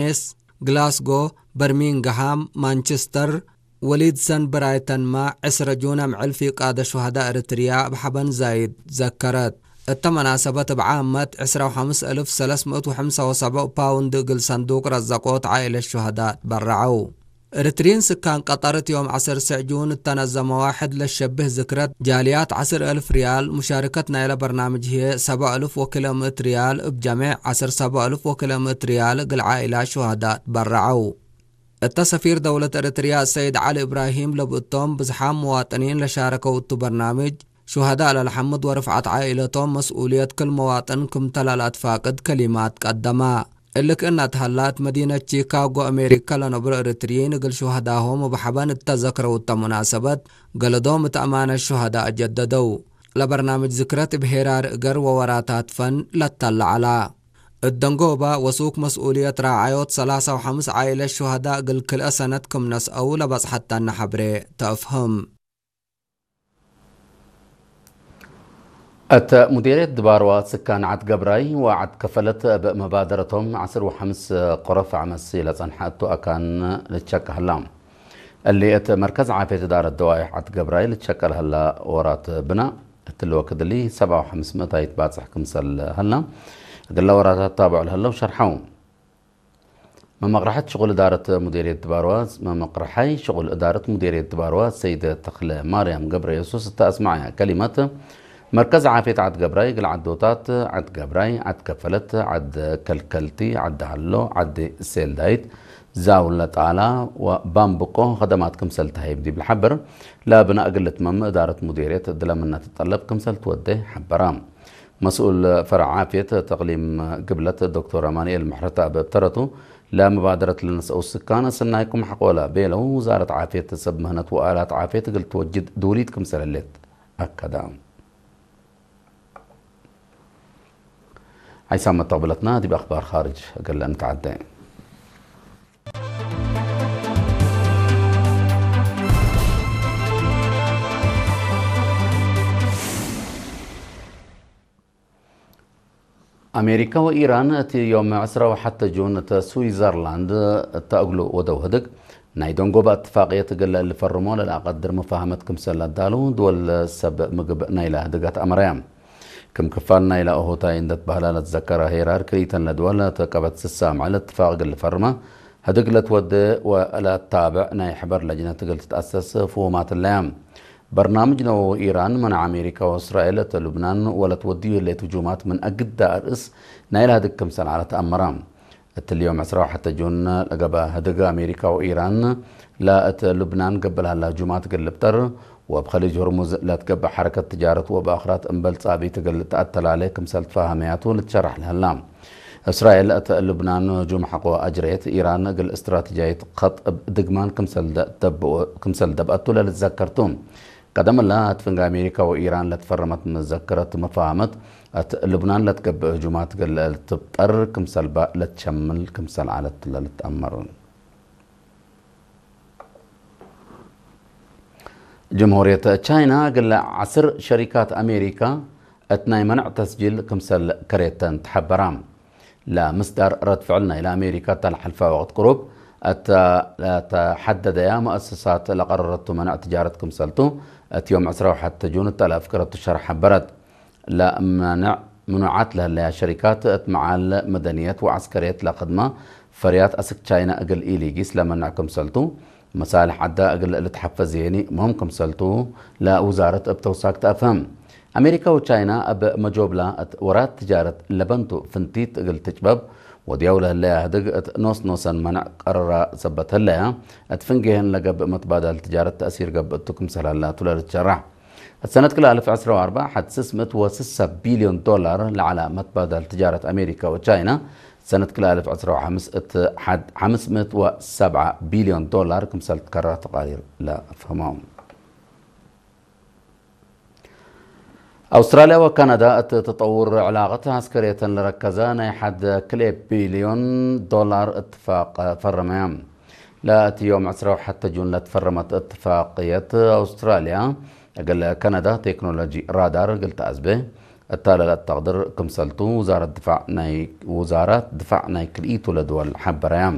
ሜስ፣ ግላስጎ፣ በርሚንግሃም፣ ማንቸስተር፣ ወሊድሰን ብራይተንማ ዕስረ ጁን ኣምዕል ፊቃደ ሹሃዳ ኤርትርያ ኣብ ሓበን ዛይድ ዘከረት። እተ መናሰበት እብ ዓመት ዕስራ ወሓምስ እልፍ ሰለስምእት ወሓምሳ ወሰብዕ ፓውንድ እግል ሰንዱቅ ረዘቆት ዓኢለት ሹሃዳ ትበረዐው። ኤርትሪን ስካን ቀጠር እቲ ዮም ዓሰርተ ሸዕ ጁን እተነዘመዋ ሕድ ለሸብህ ዝክረት ጃልያት ዓስር እልፍ ሪያል፣ ሙሻርከት ናይለ በርናምጅ ህየ ሰብዓ እልፍ ወክለ ምእት ሪያል፣ እብ ጀሜዕ ዓስር ሰብዓ እልፍ ወክለ ምእት ሪያል እግል ዓኢላ ሹሃዳ ትበረዐው። እተ ሰፊር ደውለት ኤርትርያ ሰይድ ዓሊ እብራሂም ለብእቶም ብዝሓም መዋጥኒን ለሻረከው እቱ በርናምጅ ሹሃዳ ለልሐምድ ወርፍዓት ዓኢለቶም መስኡልየት ክል መዋጥን ክምተ ለልኣትፋቅድ ከሊማት ቀደማ። እሊ ክእነት ሀላት መዲነት ቺካጎ ኣሜሪካ ለነብሮ ኤርትርይን እግል ሹሃዳሆም እብ ሐበን እተዘክረው እተ ሙናሰበት ገለዶም እት ኣማነት ሹሃዳ ኣጀደደው። ለበርናምጅ ዝክረት እብ ሄራር እገር ወወራታት ፈን ለተለዐላ። እት ደንጎባ ወሱክ መስኡልየት ራዓዮት ሰላሳ ወሐምስ ዓኢለት ሹሃዳ እግል ክልአ ሰነት ክም ነስአው ለበጽሐተነ ሐብሬ ተእፍህም። እተ ሙዲርየት ድባርዋ ስካን ዓድ ገብራይ ወዓድ ከፈለት እብ መባደረቶም ዓስር ወሐምስ ቆረፍ ዓመሲ ለጸንሐ እቱ ኣካን ልትሸቀ ህላ። እሊ እት መርከዝ ዓፍየት እዳረት ደዋይሕ ዓድ ገብራይ ልትሸቀ ለህላ ወራት ብና እትሊ ወክድ እሊ ሰብዓ ወሐምስ ምእታይት ባጽሕ ክምሰል ህላ እግለ ወራታት ታብዑ ለህለው ሸርሐው። መመቕርሐት ሽቑል እዳረት ሙዴርየት ድባርዋ፣ መመቕርሐይ ሽቑል እዳረት ሙዴርየት ድባርዋ ሰይደ ተኽለ ማርያም ገብረ የሱስ እተ ኣስማዕያ ከሊመት፣ መርከዝ ዓፍየት ዓድ ገብራይ፣ እግል ዓዶታት፣ ዓድ ገብራይ፣ ዓድ ከፈለት፣ ዓድ ከልከልቲ፣ ዓዲ ሃሎ፣ ዓዲ ሴልዳይት፣ ዛውለ ጣላ፣ ወባምብቆ ኸደማት ክምሰል ተሃይብ ዲብ ልሓብር፣ ለብና እግል ልትመም እዳረት ሙዴርየት ድለምነት ጠለብ ክምሰል ትወደ ሓበራ። መስኡል ፈረዕ ዓፍየት ተቕሊም ግብለት ዶክተር ኣማኑኤል ምሕረት ኣብ እብተረቱ፣ ለመባደረት ለነስአው ስካን ሰናይኩም ሓቆላ ቤለው፣ ውዛረት ዓፍየት ሰብ ምህነት ወኣላት ዓፍየት እግል ትወጅድ ድውሊት ክምሰለሌት ኣከዳ። ሓይሳም መተቕብለትና ዲብ ኣኽባር ኻርጅ እግል እንተዓደ። ኣሜሪካ ወኢራን እቲ ዮም ዕስራ ወሓተ ጁን እተ ስዊዘርላንድ እተ እግሉ ወደው ህድግ ናይ ደንጎባ እትፋቅየት እግል ልፈርሞ ለልኣቀድር መፋህመት ክምሰል ኣዳሉ ድወል ሰብ ምግብ ናይላ ህድጋት ኣመራያ። ክም ክፋል ናይላ እሁታይ እንደት ባህላ ለትዘከረ ሄራር ክልኢተን ለድወል ተቀበት ስሳ ምዕል እትፋቅ እግል ልፈርማ ህድግ ለትወደ ወለታብዕ ናይ ሕበር ለጅነት እግል ትትኣሰስ ፍሁማት ኣለያ። በርናምጅ ነወዊ ኢራን መን ኣሜሪካ ወእስራኤል እተ ሉብናን ወለት ወድዩ ህሌት ህጁማት ምን ኣግዳ ኣርእስ ናይላ ህድግ ክምሰል ዓለት ኣመራ። እትሊ ዮም ዕስራ ወሓተ ጁን ለገበ ህድግ ኣሜሪካ ወኢራን ለእት ሉብናን ገብእ ለሀላ ህጁማት እግል ልብጠር ወእብ ኸሊጅ ሁርሙዝ ለትገብእ ሐረከት ትጃረት ወበኣኽራት እምበል ጻብኢት እግል ተኣተላሌ ክምሰል ትፋሃመያቱ ልትሸራሕ ለሀላ። እስራኤል እት ሉብናን ህጁም ሐቆ ኣጅሬት፣ ኢራን እግል እስትራትጃይት ኸጥ እብ ድግማን ክምሰል ደ-፣ ደብኦ-፣ ክምሰል ደብአቱ ለልትዘከርቱ። ቀደም እላ እት ፍንግ ኣሜሪካ ወኢራን ለትፈረመት መዘከረት መፋሃመት፣ እት ሉብናን ለትገብእ ህጁማት እግል ልትብጠር ክምሰልባ ለትሸምል ክምሰል ዓለት ለልትአመር። ጀምሁርየት ቻይና እግል ዓስር ሸሪካት ኣሜሪካ እት ናይ መንዕ ተስጂል ክምሰል ከሬተን ተሐበራ። ለምስዳር ረድ ፍዕል ናይለ ኣሜሪካ እተ ለሐልፋ ወቅት ቅሩብ እተ ለተሐደደያ መአሰሳት ለቀረረቱ መንዕ ትጃረት ክምሰልቱ እት ዮም ዕስራ ወሓተ ጁን እተ ለአፍከረቱ ሸርሕ ሐበረት። ለመንዕ ምኑዓት ለህለያ ሸሪካት እት መዓል መደንየት ወዐስከርየት ለክድማ ፈርያት አስክ ቻይና እግል ኢሊጊስ ለመንዕ ክምሰልቱ፣ መሳልሕ ዐዳ እግል ልትሐፈዝየኒ ምህም ክምሰልቱ ለውዛረት እብ ተውሳክ ተአፍህም። አሜሪካ ወቻይና እብ መጆብላ እት ወራት ትጃረት ለበንቱ ፍንቲት እግል ትጭበብ ወድያው ለህለያ ህድግ እት ኖስ ኖሰን መንዕ ቀረራ ሰበት ህለያ፣ እት ፍንጌህን ለገብእ መትባዳል ትጃረት ተእሲር ገብእ እቱ ክምሰል ሀላቱ ለልትሸራሕ። እት ሰነት ክልተ አልፍ ዕስራ ወአርባዕ ሐድ ስስ ምእት ወስሳ ቢልዮን ዶላር ለዐላ መትባዳል ትጃረት አሜሪካ ወቻይና፣ ሰነት ክልተ አልፍ ዕስራ ወሐምስ እት ሐድ ሐምስ ምእት ወሰብዓ ቢልዮን ዶላር ክምሰል ትከራ ተቃዲር ለአፍህሞም። አውስትራልያ ወካናዳ እት ተጠውር ዕላቀት ዐስከርየተን ለረከዘ ናይ ሐድ ክልኤ ቢልዮን ዶላር እትፋቅ ፈረመያ። ለእቲ ዮም ዕስራ ወሐተ ጁን ለትፈረመት እትፋቅየት አውስትራልያ እግል ካናዳ ቴክኖሎጂ ራዳር እግል ተአዝበ እታ ለለአተቅድር ክምሰልቱ ውዛረት ድፋዕ ናይ፣ ውዛራት ድፋዕ ናይ ክልኢቱ ለድወል ሐበረያ።